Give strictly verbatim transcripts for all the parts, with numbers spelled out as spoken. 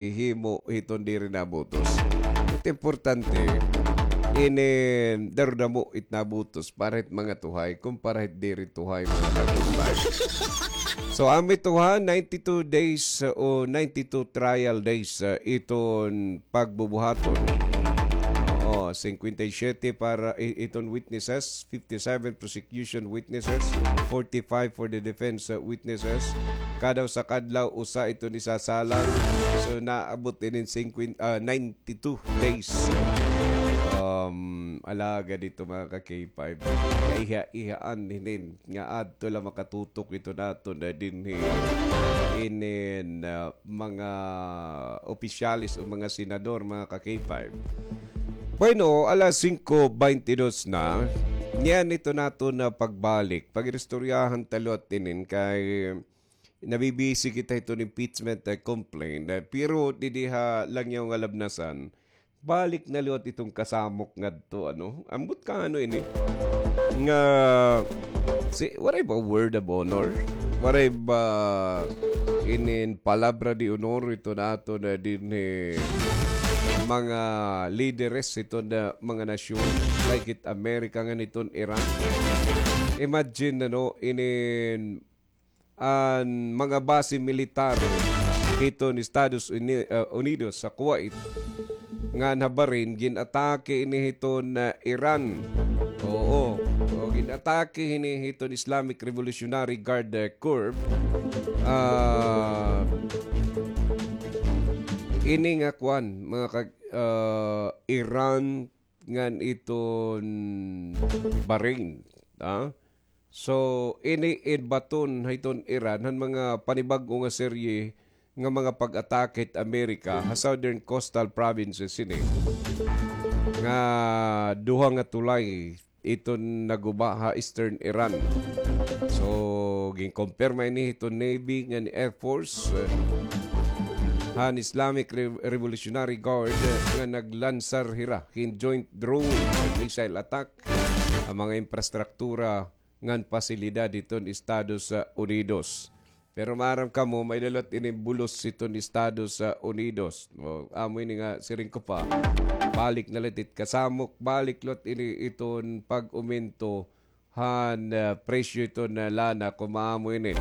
ihimo hiton diri nabutos. It importante, ini, daro-damo it nabutos para hit mga tuhay, kumpara hit diri tuhay, mga katumbas. So, amo ito ha, ninety-two days, uh, o ninety-two trial days, uh, iton pagbubuhaton. Oo, cincuenta y siete para i-, iton witnesses, fifty-seven prosecution witnesses, forty-five for the defense, uh, witnesses. Kada usa ka adlaw, usa iton isasalang. So, naabot inin cinquenta, ah, ninety-two days. Um, alagad ito, mga ka-K five. Kaiha-ihaan hinin nga adto la makatutok ito naton na dinhi inin, ah, mga opisyales o mga senador, mga ka-K five. Bueno, alas singko baynte dos na. Niyan ito naton na pagbalik. Pag-iristoryahan ta liwat inin kay nabibisi kita hiton impeachment, eh, complaint. Eh, pero didi ha langyaw nga Labnasan, balik na liwat iton kasamok ngadto, ano? Ambot ka, ano ini? Nga, si, waray ba word of honor? Waray ba inin palabra de honor ito naton na dinhi mga lideres ito na mga nasyon, like it America ngan iton Iran? Imagine, ano, inin an mga base militar hiton Estados Uni-, ah, Unidos sa Kuwait, ngan ha Bahrain, gin-atake ini hiton, ah, Iran. Oo. O, gin-atake ini hiton Islamic Revolutionary Guard, ah, Corps. Ah, ini nga kuan, mga kag-, ah, Iran ngan iton Bahrain, ah? So, ini in baton hiton Iran han mga panibag-o nga serye nga mga pag-atake hit Amerika ha southern coastal provinces ini nga duha nga tulay iton naguba ha eastern Iran. So, ginkumpirma ini hiton Navy ngan Air Force, eh, han Islamic Re-, Revolutionary Guard, eh, nga naglansar hira hin joint drone, missile attack, an mga infrastruktura ngan pasilidad hiton Estados, ah, Unidos. Pero maaram kamo, may-ada liwat ini bulos hiton Estados, ah, Unidos. O, amo ini nga siring ko pa, balik na liwat it kasamok, balik liwat ini iton pag-umento han, ah, presyo hiton, ah, lana, kon maamo ini.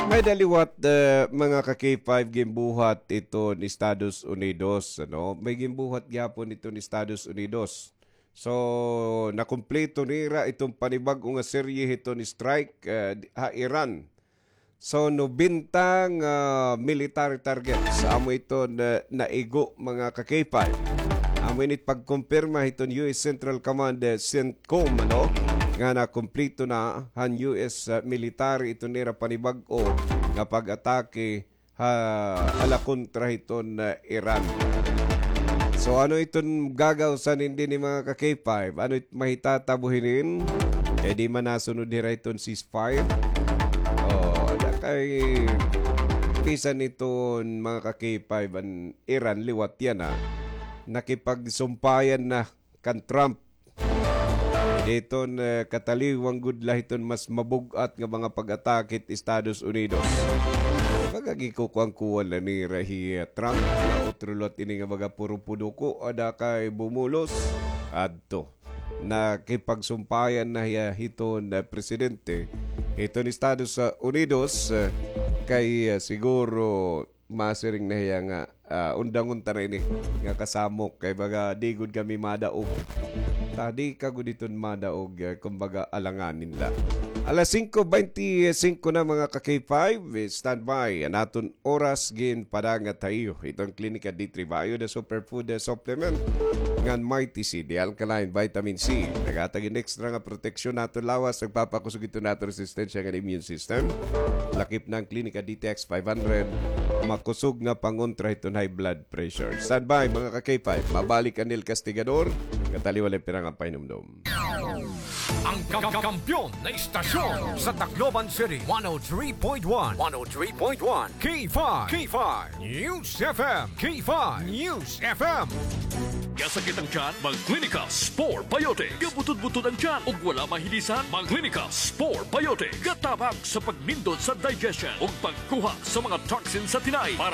May-ada liwat, ah, mga ka-K five, ginbuhat iton Estados Unidos, ano? May ginbuhat gihapon iton Estados Unidos. So, nakumpleto nira iton panibag-o nga serye hiton strike, ah, ha Iran. So, nobenta nga military targets amo iton na, naigo, mga ka-K five. Amo ini it pagkumpirma hiton U S Central Command, eh, CENTCOM, ano, nga nakumpleto na han U S, ah, military iton nira panibag-o nga pag-atake ha, hala kontra hiton, ah, Iran. So, ano iton gagawsan hini, mga ka-K five? Ano it mahitatabo hinin? Kay di man nasunod hira hiton ceasefire. O, ada kay bisan iton mga ka-K five an Iran liwat yana, nakipagsumpayan na kan Trump. Hiton, eh, kataliwan gud la hiton mas mabug-at nga mga pag-atake hit Estados Unidos. Baga gikukuan-kuan la nira hi, eh, Trump, nga utro liwat ini nga baga puro puduko, ada kay bumulos. Adto, nakipagsumpayan na hiya hiton, eh, presidente hiton Estados, ah, Unidos, eh, kay, eh, siguro masiring na hiya nga, ah, undangon ta na ini nga kasamok kay baga di gud kami madaog. Ta di ka gud iton madaog, eh, kumbaga alanganin la. Alas singko baynte singko na, mga ka-K five, eh, standby. An aton oras ginpadangat ha iyo hiton Klinika D three Bio, the superfood, eh, supplement ngan Mighty C, the alkaline vitamin C. Naghatag hin extra nga proteksyon ha aton lawas, nagpapakusog hiton aton resistensya ngan immune system. Lakip na an Klinika D T X five hundred. Makusog nga pangontra hiton high blood pressure. Standby, mga ka-K five. Mabalik an El Castigador. Kataliwan la pira nga pahinumdom. Ang kam- kampiyon na istasyon sa Tacloban City, one oh three point one, one oh three point one, K five, K five News F M, K five News F M. Gasakit ang tiyan? Mag-Clinica Spore Biotic. Gabutod-butod ang tiyan ug wala mahilisan? Mag-Clinica Spore Biotic. Gatabang sa pagnindot sa digestion ug pagkuha sa mga toxin sa tinai para